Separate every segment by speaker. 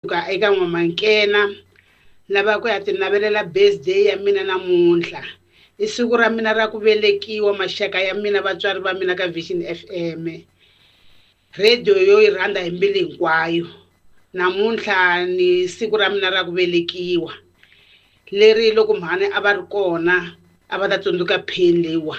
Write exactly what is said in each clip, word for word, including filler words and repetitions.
Speaker 1: Kusuka eka N'wamankena lava ku ya ti navelela birthday ya mina namuntlha i siku ra mina ra ku velekiwa maxaka ya mina vatswari va mina ka Vision F M radio yo yi rhandza hi mbilu hinkwayo. Namuntlha ni siku ra mina ra ku velekiwa leri loko mhani a va ri kona a va ta tsundzuka pain leyiwa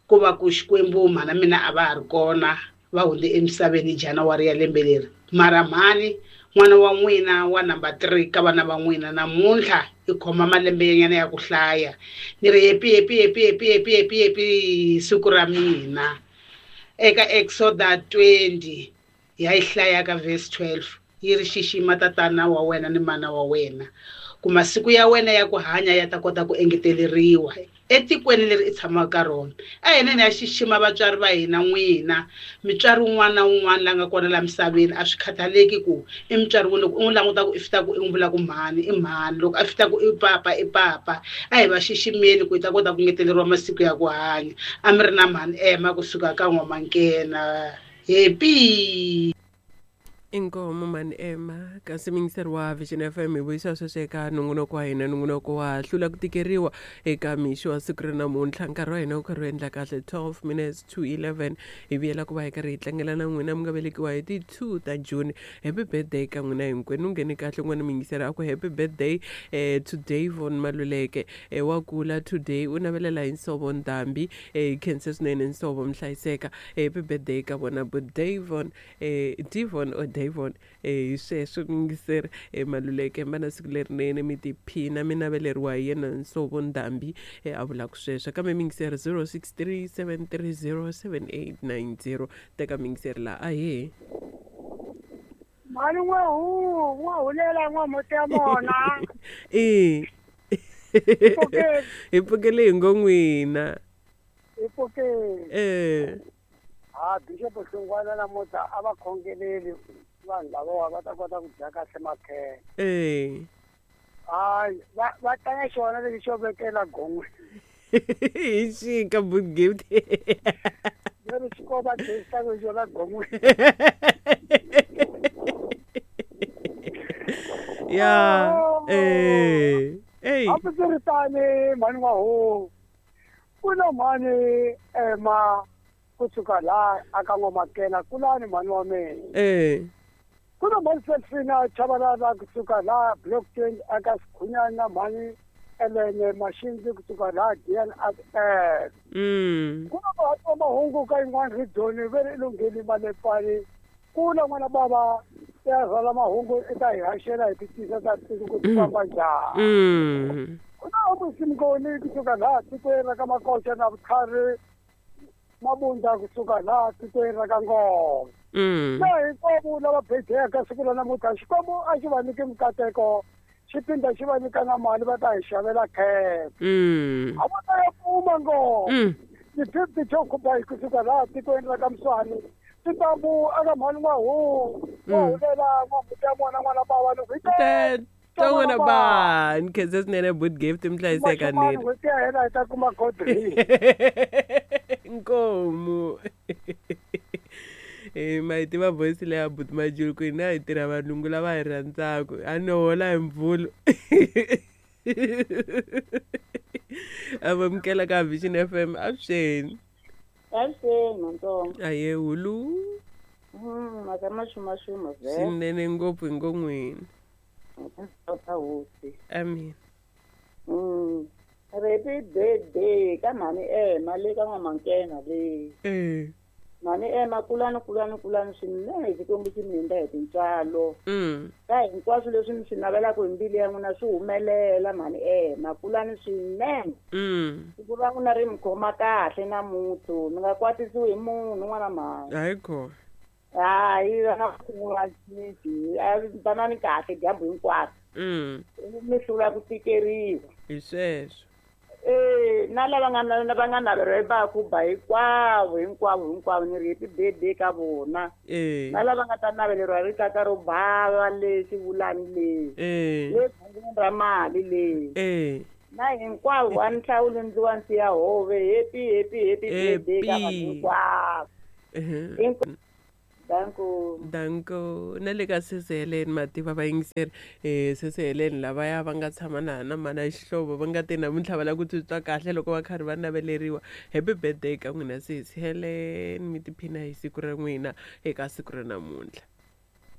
Speaker 1: ku va ku Xikwembu mhana mina a va ha ri kona va hundze emisaveni hi January ya lembe leri. Mara mhani, n'wana wa n'wina wa number three ka vana va n'wina, namuntlha i khoma malembe nyana ya ku hlaya. Ni ri happy, happy, happy, happy, happy, happy, happy siku ra mina. Eka Exoda twenty ya yi hlaya ka verse twelve yi ri, "Xixima tatana wa wena ni mana wa wena ku masiku ya wena ya ku hanya ya ta kota ku engeteleriwa etikweni leri i tshamaka ka rona." A hi neni ya xixima vatswari va hina. N'wina mutswari wun'wana na wun'wana la nga kona la misaveni, a swi khathaleki ku i mutswari wini, loko u n'wi languta ku i fita ku i n'wi vula ku mhani i mhani, loko a fita ku i papa i papa. A hi va xiximeni ku hi ta kota ku ngeteleriwa masiku ya ku hanya. A mi ri na mhani Ema kusuka ka N'wamankena. Happy.
Speaker 2: Inkomo mani Ema. Kasi muyingiseri wa Vision F M, hi vuyisa sweswo eka nongonoko wa hina, nongonoko wa Hlula ku Tikeriwa eka mixo wa siku ra namuntlha. Nkarhi wa hina wu karhi wu endla kahle twelve minutes to eleven. Hi vuyela ku va hi karhi hi tlangela na n'wina mi nga velekiwa hi ti two ta June. Happy birthday ka n'wina hinkwenu. Ngheni kahle n'wana muyingiseri a ku happy birthday eh, to Davon Maluleke, eh, wa kula today, u navelela hi Nsovo Ndhambi. eh, hi khense swinene Nsovo, mihlayiseka. Happy birthday ka vona bo Davon, eh, Devon or Davon. eh, hi sweswo muyingiseri eh, Maluleke, va na siku lerinene, mi tiphina, mi naveleriwa hi yena Nsovo Ndhambi, eh, a vulaka sweswo. Kambe muyingiseri, zero six three seven three zero seven eight nine zero. Teka muyingiseri laha, ahee.
Speaker 3: Mhani n'wahu n'wahulela n'wamuti ya mona.
Speaker 2: E.
Speaker 3: Pfukeni.
Speaker 2: Hi pfukele hi ngo n'wina.
Speaker 3: Hi pfukeni.
Speaker 2: Eh.
Speaker 3: Ha, Bishop Hlungwana namuntlha a va khongeleli vanhu lavawa va ta kota ku dya kahle makhele.
Speaker 2: Eh.
Speaker 3: Hayi, va va tlanga xona lexi xo vekela gon'we.
Speaker 2: Hi xika boot gift.
Speaker 3: Leri xi ko va dyondzisaka xona gon'we.
Speaker 2: Ya eh ey.
Speaker 3: Hambiswiritani mhani n'wahu, ku na mhani Ema kusuka laha aka N'wamakena, kulani mhani wa mina.
Speaker 2: Eh.
Speaker 3: Ku na mhani Selfina Chabalala kusuka laha block twenty aka Sikhunyani, na mhani Elene Mashinzi kusuka laha D N S.
Speaker 2: Mm
Speaker 3: ku na muhati wa mahungu ka yin'wana region ve ri lungheli malepani, ku na n'wana bava ya rhwala mahungu i ta hi haxela hi titisa ta tiko ku ti famba njhani.
Speaker 2: Mm
Speaker 3: ku na Omusimngoni kusuka laha tikweni ra ka Makoxa, na Vutlhari Mabunda kusuka laha tikweni ra ka Ngoma.
Speaker 2: Mm
Speaker 3: na hinkwavo lava bejeka siku ra namuntlha, Xikwembu a xi va nyiki mikateko, xi phinda xi va nyika na mali va ta hi xavela khekhe.
Speaker 2: Mm
Speaker 3: a va ta ya pfuma ngoma.
Speaker 2: Mm
Speaker 3: ti-fifty to khuba kusuka laha tikweni ra ka Mswani titambu aka mhani n'wahu n'wahulela n'wamuti ya mona n'wana bava loko hi
Speaker 2: te to n'wana ba ni khense swinene boot gift, mi hlayiseka.
Speaker 3: Mashumani.
Speaker 2: Nini.
Speaker 3: N'hweti ya hela hi ta kuma godri.
Speaker 2: Nkomu. Eh, ma yi tiva voice leya buti Majulu ku hina hi tirha valungu lava hi rhandzaku, a no hola hi Mvhulu. A vamukela ka Vision F M. Avuxeni.
Speaker 4: Avuxeni mantsongo.
Speaker 2: Aye hulu.
Speaker 4: Mm, mhaka maxumaxuma vhe.
Speaker 2: Swinene ngopfu hi ngo n'wina.
Speaker 4: Ta hosi.
Speaker 2: Amen.
Speaker 4: Mm. Happy birthday ka mhani Ema le ka N'wamankena le.
Speaker 2: Eh.
Speaker 4: Mhani Ema, kulani, kulani, kulani swinene, Xikwembu xi mi hindza hi tintswalo.
Speaker 2: Mm.
Speaker 4: Ka hinkwaswo leswi mi swi navelaka hi mbilu ya n'wina swi humelela mhani Ema, kulani swinene.
Speaker 2: Mm.
Speaker 4: Siku ra n'wina ri mi khoma kahle namuntlha, mi nga kwatisiwi hi munhu n'wana mhani.
Speaker 2: Hayi kona.
Speaker 4: Hayi va na vanani kahle dyambu hinkwaro.
Speaker 2: Mm.
Speaker 4: Mi hlula ku tikeriwa.
Speaker 2: Hi sweswo.
Speaker 4: Eh, na lava nga na va nga naveriwa hi bakhuba hinkwavo hinkwavo hinkwavo, ni ri happy birthday ka vona.
Speaker 2: Eh.
Speaker 4: Na lava nga ta naveleriwa hi rikaka ro bava le xivulani le.
Speaker 2: Eh.
Speaker 4: Le gungwini ra mali le.
Speaker 2: Eh.
Speaker 4: Na hinkwavo wa nhlawulo ndziwa nsiya hove, happy, happy, happy birthday ka vanhu
Speaker 2: Happy.
Speaker 4: hinkwavo.
Speaker 2: Mhm.
Speaker 4: Hinkwavo. Danko.
Speaker 2: Danko. Na le ka Sesi Helen mativa vayingiseri eh Sesi Helen lavaya va nga tshama na na mana Xihlovo va nga te namuntlha va lava ku titwa kahle loko va karhi va naveleriwa. Happy birthday ka n'wina Sesi Helen, mi tiphina hi siku ra n'wina eka siku ra namuntlha.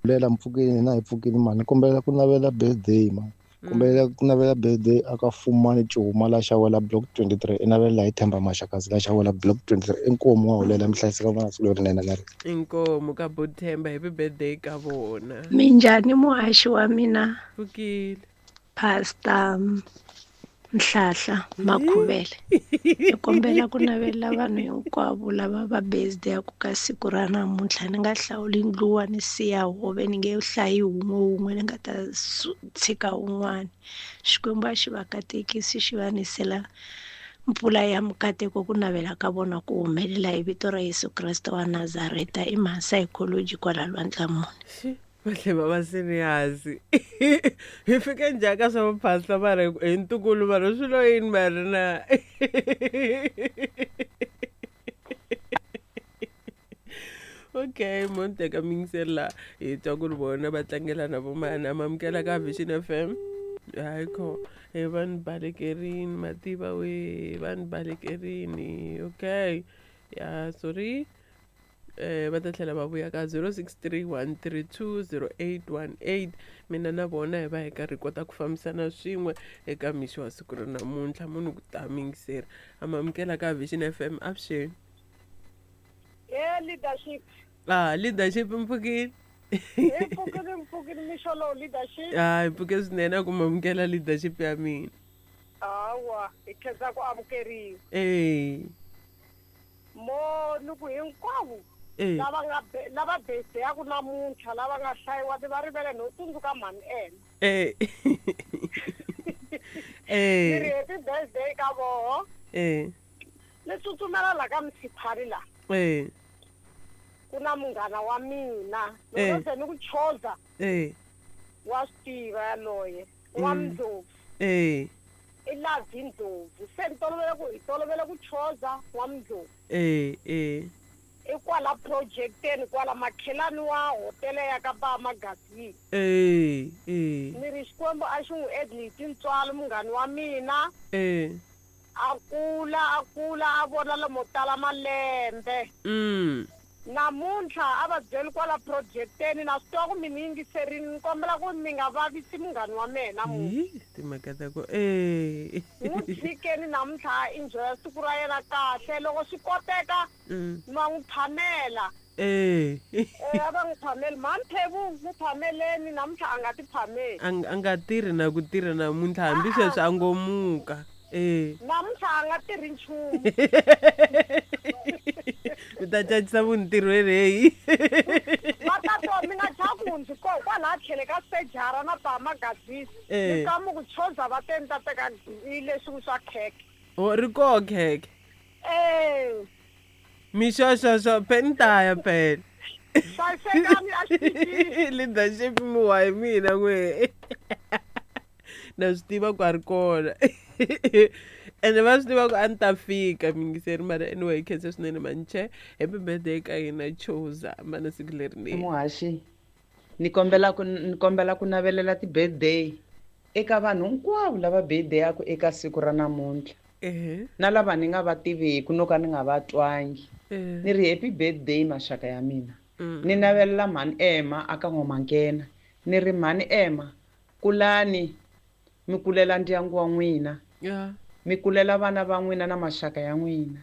Speaker 5: Lela mpfukeni na hi pfukini mani kombela ku navela birthday man. Kombela ku navela birthday aka Fumani Cuma la xawela block twenty-three i navela hi Themba Maxakazi la xawela block twenty-three inkomu wa hulela mihlayiseka vana siku lerinene na ri
Speaker 2: inkomu ka Bothemba happy birthday ka vona.
Speaker 6: Minjhani muhaxi wa mina
Speaker 2: pfukile
Speaker 6: Pastor Nhlahla Makhuvele ni kombela ku navela vanhu hinkwavo lava va birthday ku ka siku ra namuntlha ni nga hlawuli ndluwa ni siya hove ni nge hlayi wun'we wun'we ni nga ta tshika wun'wana. Xikwembu a xi va katekisi xi va nisela mpfula ya mikateko ku navela ka vona ku humelela hi vito ra Yesu Kreste wa Nazareta i mhasa psychology kwala Lwandlamuni.
Speaker 2: Vahle va va serious. Hi fike njhani ka swa vuphasla mara hi ntukulu mara swi lo yini mara na. Okay, mo teka mingiseri la hi twa ku ri vona va tlangela na vomana mamukela ka Vision F M. Hayi kho hi va ni balekerini mativa we va ni balekerini. Okay, ya sorry. Eh va ta tlhela va vuya ka zero six three one three two zero eight one eight mina na vona hi va hi karhi kota ku fambisana swin'we eka mixo wa siku ra namuntlha munhu ku ta mingiseri amamukela ka Vision F M avuxeni.
Speaker 3: Eh leadership.
Speaker 2: Ah leadership mpfukile.
Speaker 3: Hi pfukile mpfukile mixo lowu leadership.
Speaker 2: Ah hi pfuke swinene ku mamukela leadership ya mina.
Speaker 3: Hawa hi khensa ku amukeriwa.
Speaker 2: Eh
Speaker 3: mo ni ku hinkwavo lava nga lava birthday ya ku namuntlha lava nga hlayiwa ti va rivele no tsundzuka mhani ena.
Speaker 2: Eh. Eh.
Speaker 3: Ni ri happy birthday ka voho.
Speaker 2: Eh.
Speaker 3: Ni tsutsumela la ka Msiphari la.
Speaker 2: Eh.
Speaker 3: Ku na munghana wa mina loko se ni ku choza.
Speaker 2: Eh.
Speaker 3: Wa swi tiva yaloye wa Mndlovu.
Speaker 2: Eh.
Speaker 3: I Lavi Ndlovu se ni tolovele ku hi tolovele ku choza wa Mndlovu.
Speaker 2: Eh eh.
Speaker 3: I kwala projecteni kwala makhelani wa hotele ya ka ba Magazini.
Speaker 2: Eh eh.
Speaker 3: Ni ri Xikwembu a xi n'wi endli hi tintswalo munghani wa mina.
Speaker 2: Eh.
Speaker 3: A kula a kula a vona lomo tala malembe.
Speaker 2: Mm.
Speaker 3: Namuntlha a va byeli kwala projecteni na swi tiva ku mi ni yingiserini ni kombela ku mi nga vavisi munghani wa mehe namuntlha.
Speaker 2: Timhaka ta ku eh.
Speaker 3: N'wi tshikeni namuntlha a enjoya siku ra yena kahle loko swi koteka ma n'wi phamela.
Speaker 2: Eh.
Speaker 3: Eh a va n'wi phameli mhani Phevu n'wi phameleni namuntlha a nga ti phameli.
Speaker 2: A nga tirhi na ku tirha namuntlha hambi sweswi a ngo muka. Eh.
Speaker 3: Namuntlha a nga tirhi nchumu.
Speaker 2: Mi ta cacisa munhu ntirhweni heyi.
Speaker 3: Va ta twa mi nga chavi ku ndzi koho kwalaha tlhelo ka sejara na ba Magazini. Ni twa mi ku choza va te ni ta teka leswi swa khekhe.
Speaker 2: O ri koho khekhe.
Speaker 3: Eh.
Speaker 2: Mixoxoxo phe ni ta ya phela.
Speaker 3: Hlayisekani a xitichini.
Speaker 2: Leadership mi wa hi mina n'we. Na swi tiva ku a ri kona. Ene va swi tiva ku a ni ta fika mingiseri mara anyway khensa swinene manche happy birthday ka hina choza mana siku lerinene.
Speaker 7: Muhaxi ni kombela ku ni kombela ku navelela ti-birthday eka vanhu hinkwavo lava birthday yaku eka siku ra namuntlha.
Speaker 2: Eh.
Speaker 7: Na lava ni nga va tiviku no ka ni nga va twangi.
Speaker 2: Eh.
Speaker 7: Ni ri happy birthday maxaka ya mina.
Speaker 2: Mm.
Speaker 7: Ni navelela mhani Emma aka N'wamakena. Ni ri mhani Emma kulani mi kulela ndyangu wa n'wina.
Speaker 2: Yeah.
Speaker 7: Mi kulela vana va n'wina na maxaka ya n'wina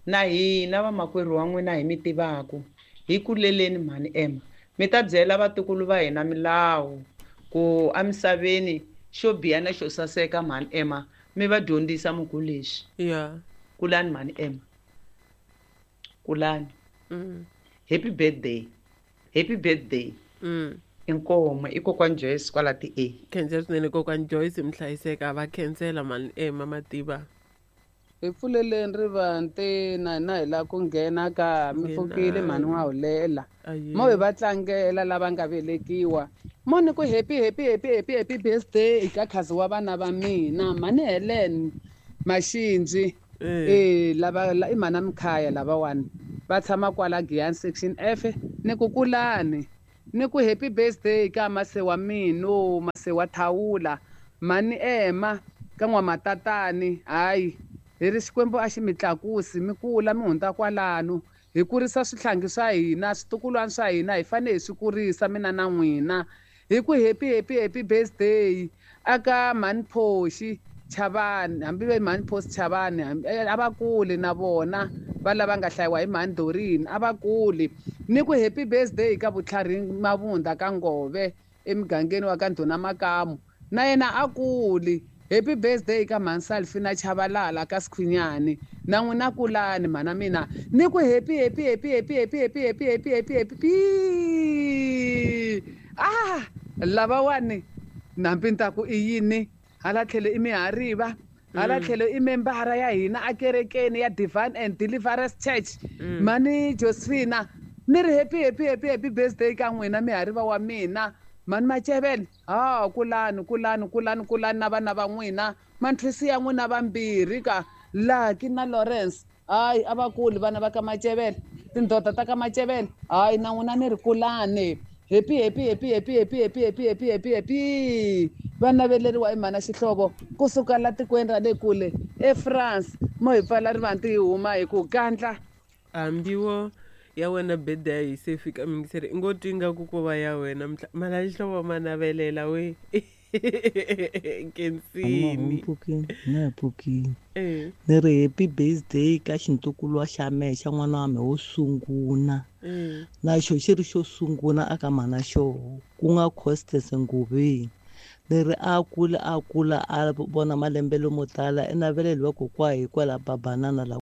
Speaker 7: na hina vamakwerhu wa n'wina hi mi tivaku hi kuleleni mhani Emma mi ta byela vatukulu va hina milawu ku emisaveni xo biha na xo saseka mhani Emma mi va dyondzisa muku lexi.
Speaker 2: Yeah.
Speaker 7: Kulani mhani Emma kulani.
Speaker 2: Mm.
Speaker 7: Happy birthday. Happy birthday.
Speaker 2: Mm.
Speaker 7: Inkomo i kokwani Joyce kwala ti A.
Speaker 2: Khensa swinene kokwani Joyce mihlayiseka va khensela mhani Emma mativa.
Speaker 8: Hi pfuleleni rivanti na hina hi lava ku nghena ka mi pfukile mhani wa hulela. Mo hi va tlangela lava nga velekiwa. Mo ni ku happy happy happy happy happy birthday ka khazi wa vana va mina mhani Helen Maxinji. Eh lava i mhana Mkhaya lavawani va tshama kwala Giyani section F Ni ku kulani. Ni ku happy birthday ka mase wa mino, mase wa Thawula. Mhani Emma ka n'wamatatani, hayi hi ri Xikwembu a xi mi tlakusi mi kula mi hundza kwalano. Hi kurisa swihlangi swa hina, switukulwana swa hina hi fanele hi swi kurisa mina na n'wina. Hi ku happy happy happy birthday aka Mhani Phoxi Chavani, hambi ve Mhani Phoxi Chavani, a va kuli na vona va lava nga hlayiwa hi Mhani Dorini, a va kuli. Ni ku happy birthday ka Vutlhari Mavunda ka Ngove emugangeni wa ka Ndhuna Makamu, na yena a kuli. Happy birthday ka Mhani Salfina Chabalala ka Sikhwinyani, na n'wina kulani mhana mina. Ni ku happy happy happy happy happy happy happy happy happy happy ah lavawani nambi ni ta ku i yini hala tlhelo i mihariva, hala tlhelo i membara ya hina akerekeni ya Divine and Deliverance Church. Mhani Josephina ni ri happy happy happy happy birthday ka n'wina mihariva wa mina. Mhani Macevele, ha kulani kulani kulani kulani na vana va n'wina, manthwisi ya n'wina vambirhi ka Lucky na Lawrence. Hayi a va kuli vana va ka Macevele, tindhota ta ka Macevele, hayi na n'wina ni ri kulani. Happy happy happy happy happy happy happy happy happy happy va naveleriwa hi mhana Xihlovo kusuka la tikweni ra le kule eFrance. Mo hi pfala rivanti hi huma hi ku gandla.
Speaker 2: Hambiwo ya wena birthday yi se fika mingiseri i ngo twi nga ku ko va ya wena mhana Xihlovo ma navelela we. Nkensini
Speaker 9: mpfukini na hi pfukini ni ri happy birthday ka xintukulu xa mehe xa n'wana wa mehe wo sungula, na xo xi ri xo sungula aka mhana xoho ku nga Costes Nguveni. Ni ri a kula a kula a vona malembe lomo tala i naveleliwa kokwa hikwalaho babanana la.